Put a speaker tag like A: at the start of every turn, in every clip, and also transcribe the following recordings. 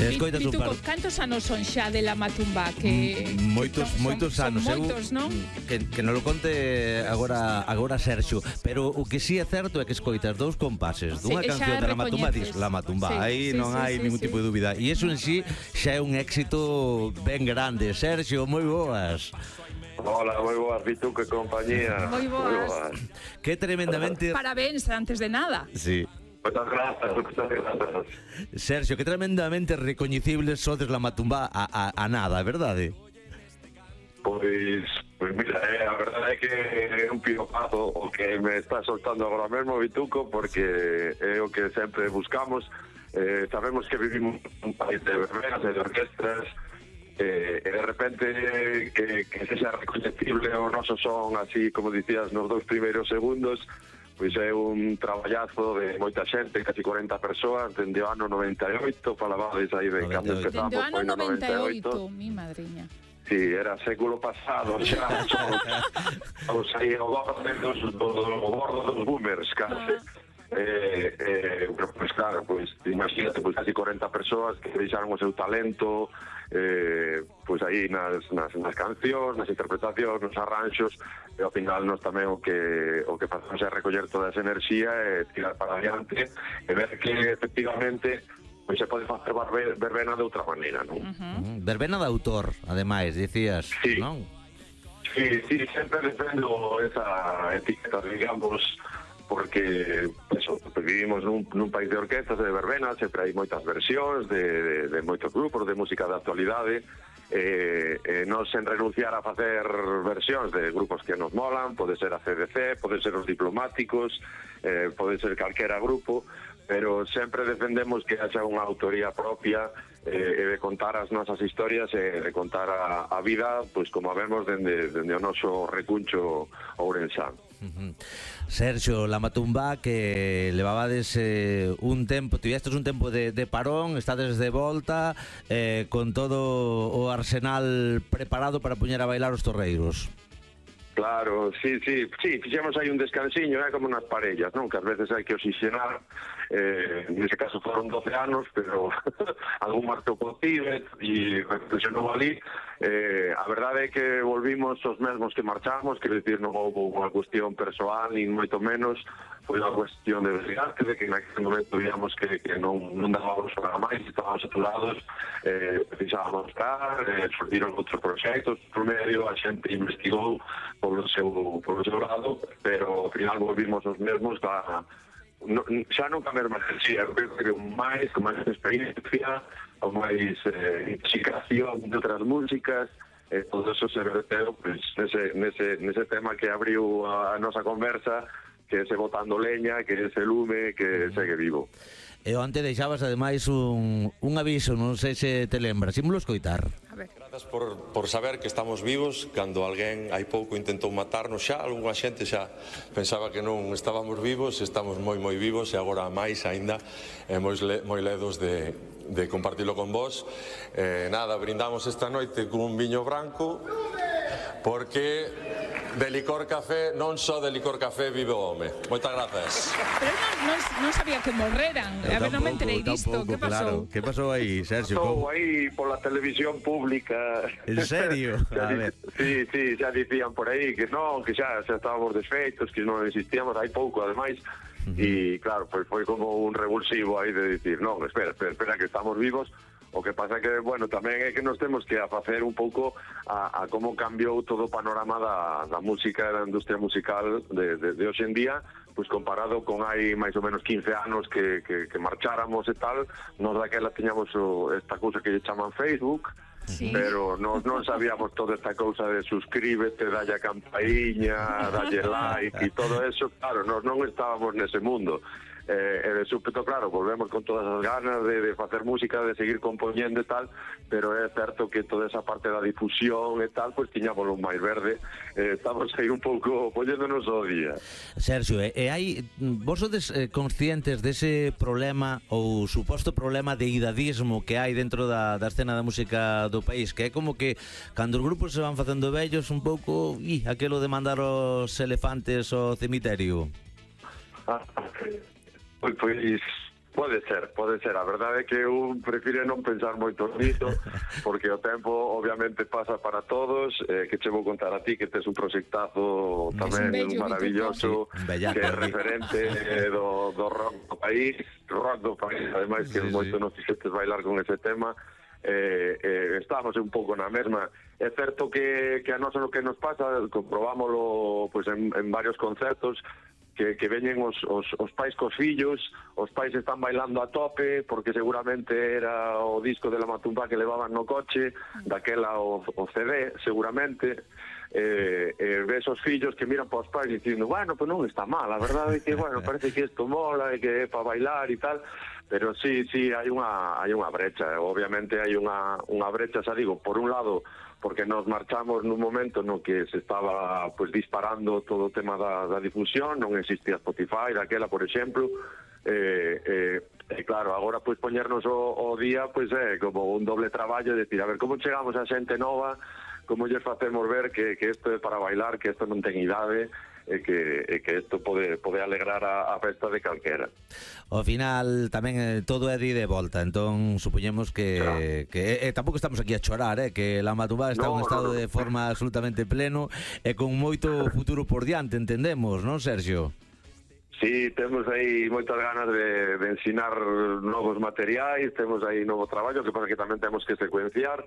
A: Escoitas un par.
B: Cantos anos son xa de La Matumba?
A: Moitos anos.
B: Son moitos, non?
A: Que non lo conte agora Sergio, pero o que sí é certo é que escoitas dous compases dunha canción de La Matumba, dis La Matumba, aí non hai ningún tipo de dúbida, e iso en sí xa é un éxito ben grande. Sergio, moi boas.
C: Hola, moi boas, Vituco e compañía.
B: Moi boas.
A: Que tremendamente...
B: Parabéns, antes de nada.
A: Sí.
C: Moitas grazas.
A: Sergio, que tremendamente recoñecibles sodes La Matumba a nada, verdade?
C: Pois mira, a verdade é que é un piropazo o que me está soltando agora mesmo, Vituco, porque é o que sempre buscamos. Sabemos que vivimos un país de verbenas e de orquestras, e de repente que sexa recoñecible o noso son, así como dicías nos 2 primeiros segundos, pois é un traballazo de moita xente, casi 40 persoas, dende o ano 98, falabades aí de cando empezamos,
B: dende o ano
C: foi no
B: 98, mi madriña.
C: Sí, era século pasado, xa, somos aí o bordo dos boomers, case. Pues claro, pues imagínate, pues casi 40 persoas que deixaron o seu talento, pues aí nas cancións, nas interpretacións, nos arranxos, e ao final nos tamén o que facemos é recoller toda esa enerxía e tirar para adiante e ver que efectivamente pois se pode facer verbena de outra maneira, non?
A: Verbena de autor, ademais, dicías,
C: sí.
A: Non?
C: Sí, sempre defendo esa etiqueta, digamos, porque eso, vivimos nun país de orquestas e de verbenas, sempre hai moitas versións de moitos grupos de música de actualidade, non sen renunciar a facer versións de grupos que nos molan, pode ser a CDC, pode ser os Diplomáticos, pode ser calquera grupo, pero sempre defendemos que haxa unha autoría propia e de contar as nosas historias e de contar a vida, pois como a vemos dende o noso recuncho ourensán.
A: Sergio, La Matumba, que levabades un tempo, tivestes un tempo de parón, estades de volta con todo o arsenal preparado para poñer a bailar os torreiros.
C: Claro, sí, fixemos aí un descansiño, como nas parellas, non? Que ás veces hai que oxigenar, nese caso foron 12 anos, pero algún marco posible e reflexionou ali. A verdade é que volvimos os mesmos que marchamos, quero dicir, non houve unha cuestión persoal, nin moito menos, foi unha cuestión de desgaste, de que naquele momento digamos que non dábamos para máis, estábamos saturados, precisábamos estar, surgiron outros proxectos, por medio a xente investigou polo seu lado, pero ao final volvimos os mesmos xa non ca mesma enerxía, creo con máis experiencia, con máis intoxicación de outras músicas, todo eso se verteu pues, nese tema que abriu a nosa conversa, que é ese botando leña, que é ese lume que segue vivo.
A: E onte deixabas ademais un aviso, non sei se te lembras, ímolo escoitar.
B: A ver.
D: Grazas por saber que estamos vivos. Cando alguén hai pouco intentou matarnos xa, algunha xente xa pensaba que non estábamos vivos, estamos moi vivos e agora máis aínda moi ledos de compartilo con vos. Nada, brindamos esta noite cun viño branco porque de licor café, non só de licor café vive o home. Moitas grazas.
B: Pero non sabía que morreran. A ver, non me enterei disto. Que pasou?
A: Claro. Que pasou aí, Sergio?
C: Pasou aí pola televisión pública.
A: En serio? A ver.
C: Sí, xa dicían por aí que non, que xa estábamos desfeitos, que non existíamos, hai pouco, ademais. E claro, foi como un revulsivo aí de dicir, non, espera, que estamos vivos. O que pasa que, bueno, tamén é que nos temos que afacer un pouco a como cambiou todo o panorama da música e da industria musical de hoxe en día, pois comparado con hai máis ou menos 15 anos que marcháramos e tal, nos daquela tiñamos esta cousa que lle chaman Facebook, sí. Pero non sabíamos toda esta cousa de suscríbete, dalle a campaíña, dalle like e todo eso, claro, non estábamos nese mundo. E de súpeto, claro, volvemos con todas as ganas de facer música, de seguir compoñendo e tal, pero é certo que toda esa parte da difusión e tal, pois tiñamos un máis verde, estamos aí un pouco poñéndonos ao día.
A: Sergio, vos sodes conscientes dese problema ou suposto problema de idadismo que hai dentro da escena da música do país, que é como que cando os grupos se van facendo vellos un pouco, aquelo de mandar os elefantes ao cemiterio?
C: Pois Pode ser. A verdade é que eu prefiro non pensar moito nisto, porque o tempo obviamente pasa para todos, que che vou contar a ti que tes un proxectazo tamén maravilloso, que é referente do rock do país, ademais que moito nos fixestes bailar con ese tema. Estamos un pouco na mesma. É certo que a nosa lo que nos pasa, comprobámoslo pues, en varios concertos, que veñen os pais cos fillos, os pais están bailando a tope porque seguramente era o disco de La Matumba que levaban no coche, daquela o CD seguramente. Ves os fillos que miran para os pais dicindo, bueno, pues non está mal, a verdade é que, bueno, parece que isto mola e que é para bailar e tal, pero sí, hai unha brecha, obviamente hai unha brecha, xa digo, por un lado, porque nos marchamos nun momento no que se estaba pues disparando todo o tema da difusión, non existía Spotify daquela, por exemplo, claro, agora pues poñernos o día pues é como un doble traballo, decir, a ver, como chegamos a xente nova, como lles facemos ver que isto é para bailar, que isto non ten idade, e que isto pode alegrar a festa de calquera.
A: Ao final tamén todo é de volta, entón supoñemos que tampouco estamos aquí a chorar, que La Matumba está en un estado de forma absolutamente pleno e con moito futuro por diante, entendemos, non, Sergio?
C: Sí, temos aí moitas ganas de ensinar novos materiais, temos aí novo traballo, que pasa que tamén temos que secuenciar,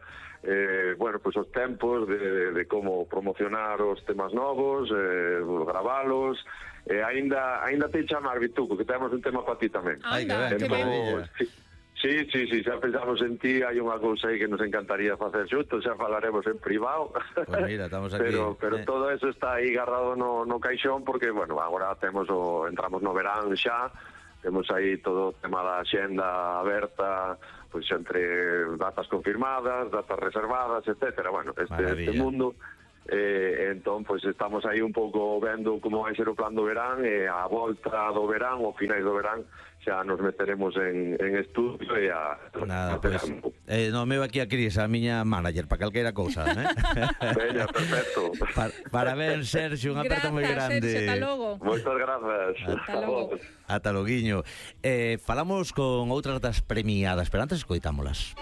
C: bueno, pues os tempos de como promocionar os temas novos, gravalos, aínda te chamar, Vituco, que temos un tema para ti tamén.
B: Anda, que ben.
C: Sí, xa pensamos en ti, hai unha cousa aí que nos encantaría facer xuntos, xa falaremos en privado.
A: Pues mira, estamos aquí.
C: Pero todo eso está aí agarrado no caixón, porque, bueno, agora entramos no verán xa, temos aí todo o tema da xenda aberta, pois entre datas confirmadas, datas reservadas, etcétera. Bueno, este mundo... entón, pois estamos aí un pouco vendo como vai ser o plan do verán, e a volta do verán, ou finais do verán, xa nos meteremos en estudio e a...
A: Nada, pois, no meu aquí a Cris, a miña manager, para calquera cousa,
C: Veña, perfecto.
A: Parabéns, Sergio, un aperto moi grande.
B: Sergio, ata logo.
C: Moitas grazas.
B: Ata logo.
A: Ata loguiño. Falamos con outras das premiadas, pero antes escoitámolas.